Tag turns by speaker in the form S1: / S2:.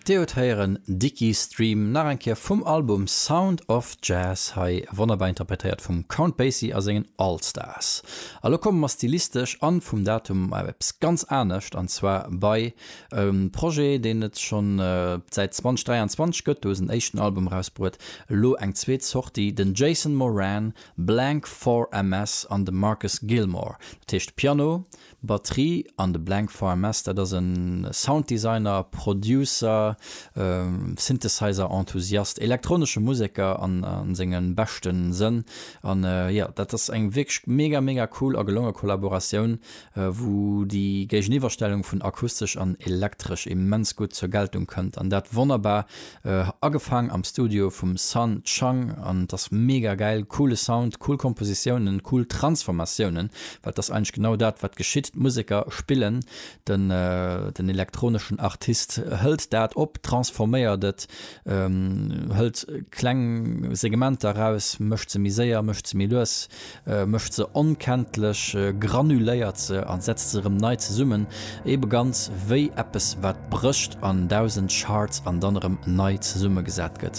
S1: Dir hutt héieren Dickie Stream, nach eng Kéier vum Album Sound of Jazz, hei wonnerbar interpretéiert vum Count Basie a sengen All Stars. A lo komme mer stilistesch an vum Datum op eppes ganz anescht, an zwar bei e Projet, deen et schonn säit 2023 gëtt, do hu se en éischten Album erausbruet, elo eng zweet Sortie, den Jason Moran, Blank 4 MS an de Marcus Gilmore, dat heescht Piano, Batterie an de Blank VMS, dat ass e Sounddesigner, Producer, Synthesizer-Enthusiast, elektronesche Museker an senge beschte Sënn. An jo, dat ass eng wierklech mega, mega cool a gelonge Kollaboratioun, wou déi Géigeniwwerstellung vun akustesch an elektresch immens gutt zur Geltung kënnt. An dat wonnerbar Agefaang am Studio vum Sun Chang an et ass mega gäil, coole Sound, cool Kompositiounen, cool Transformatiounen, well et ass eigentlech genau dat wat geschitt, d'Museker spillen, den den elektroneschen Artist hëlt dat op, transforméiert et, hëlt kleng Segmenter eraus, mécht se méi séier, mécht se méi lues, mécht se onkenntlech, granuléiert se a setzt se erëm nei zesummen, ebe ganz wéi eppes wat brécht an 1000 Shards an dann erëm nei zesummegesat gëtt.